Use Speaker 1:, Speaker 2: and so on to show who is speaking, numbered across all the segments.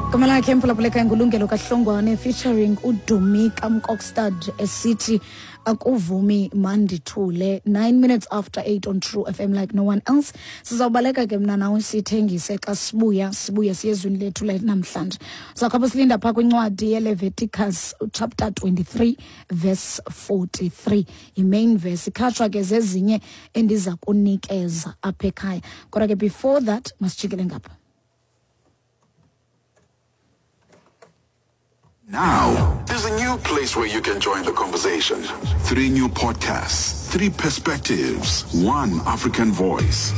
Speaker 1: Igama lakhe emphulaphuleka ngulungelo kahlongwane featuring udumi kamkokstad esithi akuvumi mandithule. 9 minutes after 8 on True FM like no one else. Sizawubaleka ke mna nawe sithengise xa sibuya sibuye siye ezwini lethu lanamhlanje. Sizawukhapha silinda phaa kwincwadi yeLeviticus chapter 23 verse 43. I-main verse ikhatshwa ke zezinye endiza kunikeza apha ekhaya. Kodwa ke before that masijikele ngapha.
Speaker 2: Now, there's a new place where you can join the conversation. Three new podcasts, three perspectives, one African voice.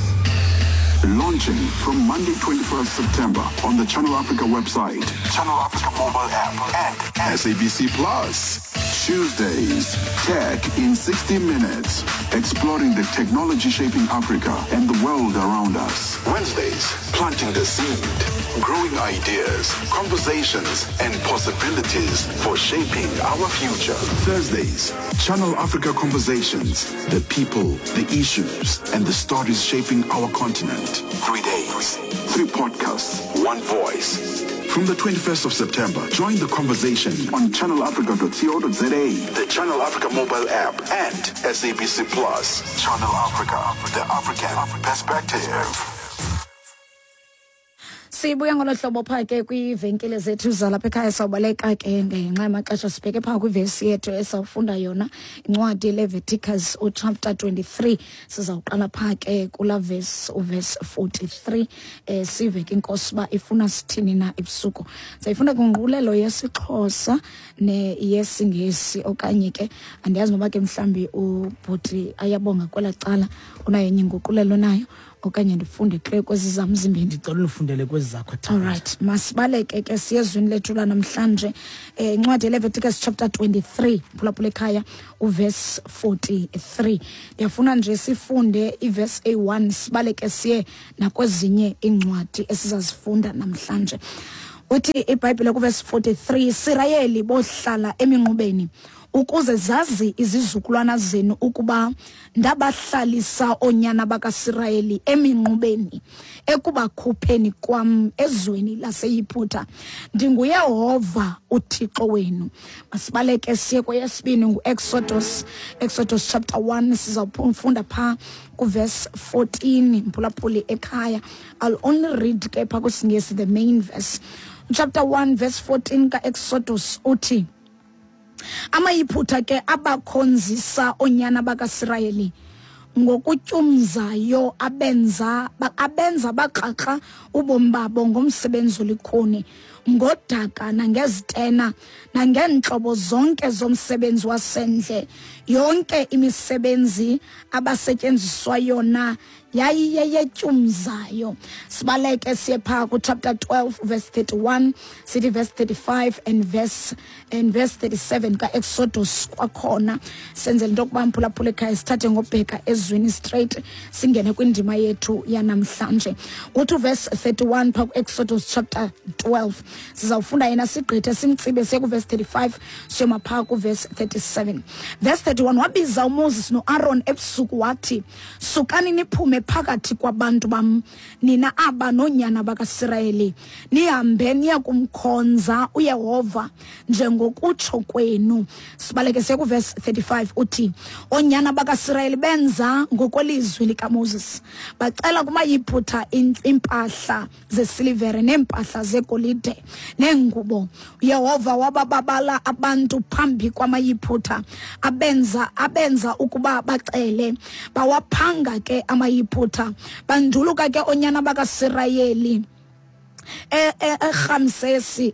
Speaker 2: Launching from Monday, 21st September on the Channel Africa website, Channel Africa mobile app, and SABC Plus. Tuesdays, Tech in 60 Minutes, exploring the technology shaping Africa and the world around us. Wednesdays, planting the seed, growing ideas, conversations, and possibilities for shaping our future. Thursdays, Channel Africa Conversations, the people, the issues, and the stories shaping our continent. 3 days, 3 podcasts, 1 voice. From the 21st of September, join the conversation on channelafrica.co.za, the Channel Africa mobile app, and SABC Plus. Channel Africa, the African perspective.
Speaker 1: Sibuya ngolo hlobo phaa ke kwiivenkile zethu zalapha ekhaya. Sawubaleka ke ngenxa yamaxesha, sibheke phaa kwivesi yethu esawufunda yona, incwadi Leviticus uchapter 23. Sizawuqala phaa ke kulaa vesi, uvesi 43, sive ke inkosi uba ifuna sithini na ebusuku. Sayifunda kwinguqulelo yesiXhosa neyesiNgesi, okanye ke andiyazi noba ke mhlawumbi ubhuti ayabonga kwelaa cala unayo enye inguqulelo nayo, okanye ndifunde kle kwezi zam zimbini.
Speaker 3: Ndicela ulifundele kwezi zakho, Thanda.
Speaker 1: Alright, masibaleke ke siye ezwini lethu lanamhlanje. Incwadi yeLeviticus chapter 23, phulaphula ekhaya, uverse 43. Ndiyafuna nje sifunde iverse A1, sibaleke siye nakwezinye iincwadi esizazifunda namhlanje. Uthi iBhayibhile kuverse 43, Sirayeli bohlala eminqubeni ukuze zazi izizukulwana zenu ukuba ndabahlalisa oonyana bakaSirayeli eminqubeni ekubakhupheni kwam ezweni laseYiputa. NdinguYehova uThixo wenu. Masibaleke siye kweyesibini, nguExodus, Exodus chapter 1. Sizawufunda phaa kuverse 14, mphulaphuli ekhaya. I'll only read ke phaa kwisiNgesi the main verse. Chapter 1 verse 14 kaExodus uthi, amaYiphutha ke abakhonzisa oonyana bakaSirayeli ngokutyumzayo, abenza bakrakra ubomi babo ngomsebenzi olikhuni, ngodaka nangezitena nangeentlobo zonke zomsebenzi wasendle. Yonke imisebenzi abasetyenziswa yona yayiyeyetyumzayo. Sibaleke siye phaa kuchapter 12 verse 31, sithi verse 35 and verse 37 kaExodus kwakhona, senzele into yokuba mphulaphula ekhaya sithathe ngobheka ezwini straight singene kwindima yethu yanamhlanje. Uthi verse 31 phaa kuExodus chapter 12, sizawufunda yena sigqithe simtsibe siye kuverse 35, siyoma phaa kuverse 37. Verse 31, wabiza uMoses noAron ebusuku wathi, sukani niphume phakathi kwabantu bam, nina aba noonyana bakaSirayeli, nihambe niye kumkhonza uYehova njengokutsho kwenu. Sibaleke siye kuverse 35, uthi oonyana bakaSirayeli benza ngokwelizwi likaMoses, bacela kumaYiphutha iimpahla zesilivere neempahla zegolide neengubo. uYehova wabababala abantu phambi kwamaYiphutha, abenza ukuba bacele, bawaphanga ke amaYiphutha. Banduluka ke oonyana bakaSirayeli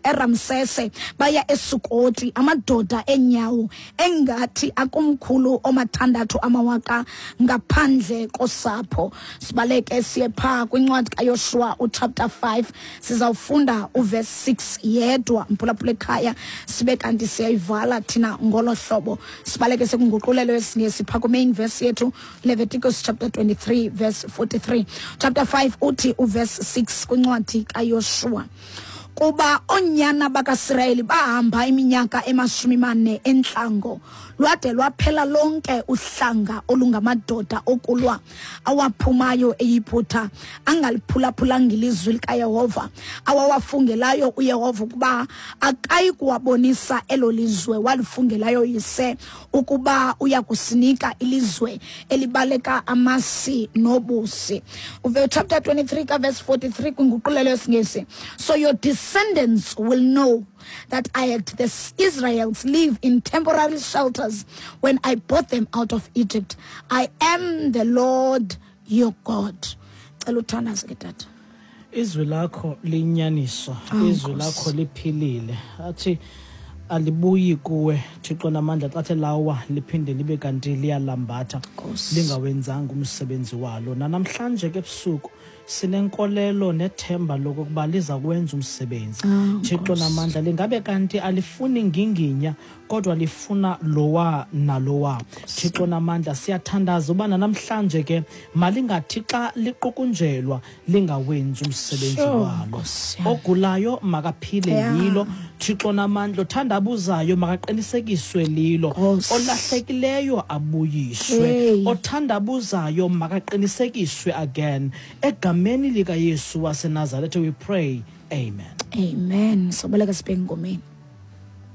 Speaker 1: eRamsese baya eSukoti, amadoda enyawo engathi akumkhulu omathandathu amawaka ngaphandle kosapho. Sibaleke siye phaa kwincwadi kaYoshuwa uchapter 5, sizawufunda uverse 6 yedwa, mphulaphula ekhaya, sibe kanti siyayivala thina ngolo hlobo. Sibaleke sekunguqulelo yesiNgesi phaa kwi-main verse yethu, Leviticus chapter 23 verse 43. Chapter 5 uthi uverse 6 kwincwadi kaYoshuwa, kuba oonyana bakaSirayeli bahamba iminyaka emashumi mane entlango, Lwade lwaphela lonke uhlanga olungamadoda okulwa awaphumayo eYiputa angaliphulaphulanga ilizwi likaYehova awawafungelayo uYehova ukuba akayi kuwabonisa elo lizwe walifungelayo yise ukuba uya kusinika ilizwe elibaleka amasi nobusi. Uve chapter 23 kaverse 43 kwinguqulelo yesiNgesi. So your descendants will know that I had the Israels live in temporary shelters when I brought them out of Egypt. I am the Lord your God. Cela uthandaze ke tata.
Speaker 3: Izwi lakho liyinyaniso,
Speaker 1: Oh,
Speaker 3: izwi
Speaker 1: Nkosi.
Speaker 3: lakho liphilile. Athi alibuyi kuwe Thixo namandla xa the lawa liphinde libe kanti liyalambatha
Speaker 1: Nkosi.
Speaker 3: lingawenzanga umsebenzi walo. Nanamhlanje ke ebusuku sinenkolelo nethemba lokokuba liza kwenza umsebenzi.
Speaker 1: Ah,
Speaker 3: Thixo namandla lingabe kanti alifuni nginginya kodwa lifuna lowa nalowa. Thixo namandla siyathandaza uba namhlanje ke malingathi xa liqukunjelwa lingawenzi umsebenzi
Speaker 1: Sure,
Speaker 3: walo.
Speaker 1: Nkosi yam.
Speaker 3: Ogulayo makaphile
Speaker 1: Yeah.
Speaker 3: yilo. Thixo namandla othandabuzayo makaqinisekiswe lilo.
Speaker 1: Nkosi.
Speaker 3: Olahlekileyo abuyiswe.
Speaker 1: Hey.
Speaker 3: Othandabuzayo makaqinisekiswe again. Egameni likaYesu waseNazaretha we pray. Amen.
Speaker 1: Amen. Soboleka sibheke engomeni.